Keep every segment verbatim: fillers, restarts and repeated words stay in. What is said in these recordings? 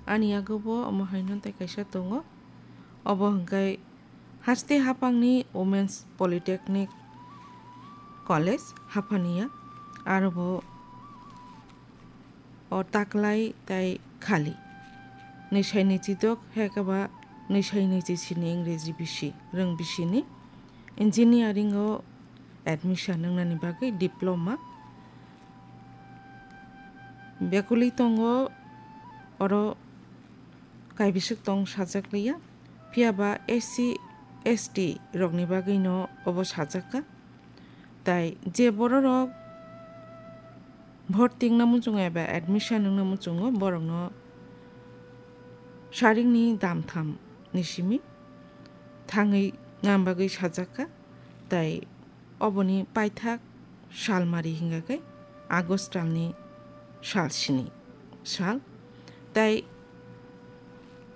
Ani yago bo omo haino tei kaisa tongo. Obo hwnkhe haste haphangni Women's Polytechnic College Haphania, aro bo o taklai tei khali. Nwisai nwichidok hekaba nwisai nwichi sini Ingreji bisi, rwng bisini. Engineering o admission wngnani bagwi diploma. Bekuli tongo oro kaibiswk tong sajak liya. Phiya ba S C, S T rokni bagwino obo sajak kha. Tai je bororok bhorti wngna muchungo eba admission wngna muchungo, borokno sarikni damtham ni simi thangwi nang bagwi sajak kha. Tai oboni paithak salmari hingka khe August talni sal sini sal. Tai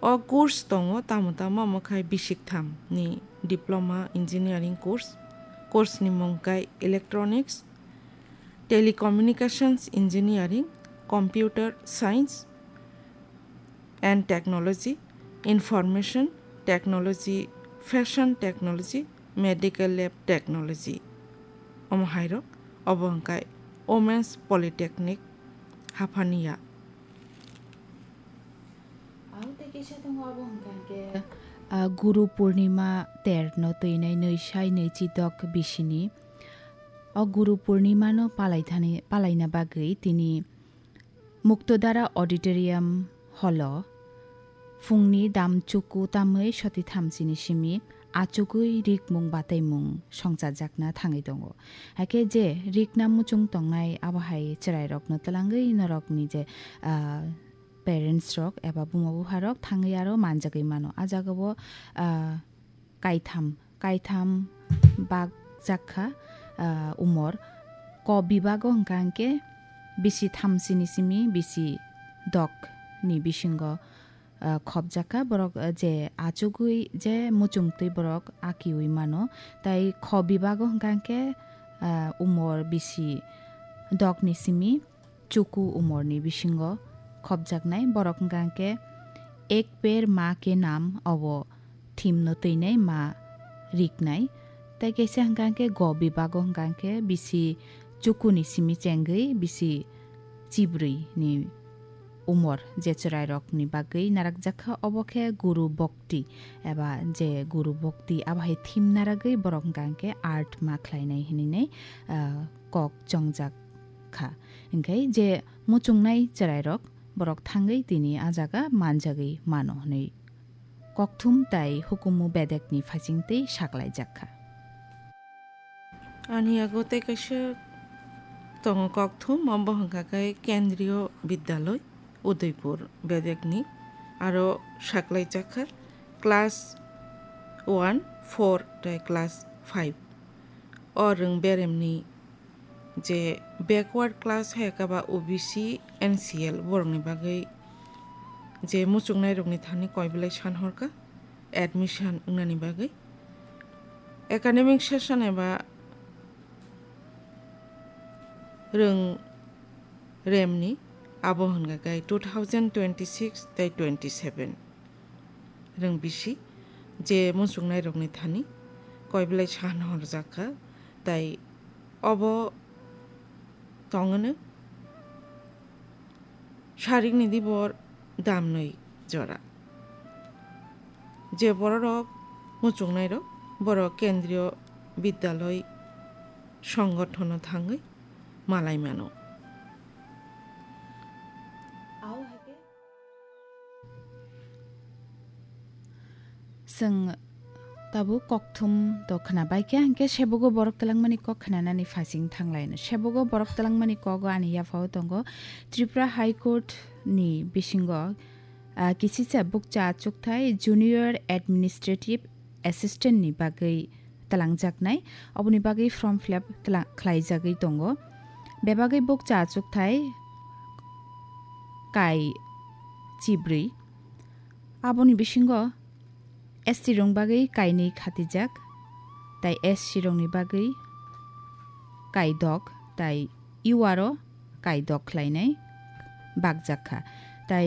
o course tongo tamo tamo, omo khai bisik tham ni diploma engineering course. Course ni mung khai electronics, telecommunications engineering, computer science and technology, information technology, fashion technology, medical lab technology. Omo hairok, obo hwnkhe Women's Polytechnic Haphania. Ang tei kisa tongo, obo hwnkhe, ah, Guru Purnima ter no twinai nwi sai nwi chi dok bisini. O Guru Purnima no palaithani, palaina bagwi tini Muktodara Auditorium holo phungni dam chuku tamwi soti thamsini simi achugwi rikmung bataimung songchajakna thangwi tongo. Hakhe je rikna muchung tongnai abo hai chwrairokno twlangwi norokni je, ah, parents rok eba buma bupha rok thangwi aro manjagwi mano. A jagao, ah, kaitham, kaitham bak jakha, ah, umor. Ko bibago hwnkha hwnkhe bisi thamsini simi bisi dok ni bisingo, ah, khopjakha. Borok, ah, je achugwi je muchungtwi borok akiwi mano. Tai kho bibago hwnkha hwnkhe, ah, umor bisi dok ni simi chuku umorni bisingo khopjaknai borok hwnkha khe Ek Ped Maa Ke Naam obo thimno twinai ma riknai. Tai kaisa hwnkha khe go bibago hwnkha khe bisi chukuni simi chengwi bisi chibrwi ni umor je chwrairokni bagwi narakjakha, obo khe Guru Bhakti eba je Guru Bhakti abo hai thim naragwi borok hwnkha khe art ma khlainai hinwi, ah, kok chongjak kha. Hinkhe je muchungnai chwrairok borok thangwi tini a jaga manjagwi mano hwnwi kokthum tai hukumu bedekni phaisingtwi saklaijak kha. Ani yago tei kaisa tongo kokthum, obo hwnkha khe Kendriyo Bidyaloi, Udaipur bedekni, aro saklaijak kha class one, four tei class five. O rwng beremni je backward class hai khe ba O B C, N C L borokni bagwi je muchungnairokni thani koi belai san hor kha admission wngnani bagwi. Academic session eba rwng remni abo hwnkha khe two thousand twenty-six tei twenty-seven. Rwng bisi je muchungnairokni thani koi belai san horjak kha, tai obo tong hwno sarikni dibor damnwi jora. Je bororok muchungnairok, borok Kendriyo Bidyaloi songothono thangwi malai mano. Chwng tabuk kokthum to khwna bai khe, hinkhe sebogo borok twlangmani kok khwnanani phaising thanglaino. Sebogo borok twlangmani kogo ani yaphao tongo Tripura High Court ni bisingo, ah, kisisa bukcha achukthai Junior Administrative Assistant ni bagwi twlangjaknai, oboni bagwi form fill up twla-, khlaijagwi tongo. Bebagwi bukcha achukthai kai chibrwi. Aboni bisingo S T rokni bagwi kainwi khatijak, tai S C rokni bagwi kaidok, tai U R o kaidok khlainai bakjak kha. Tai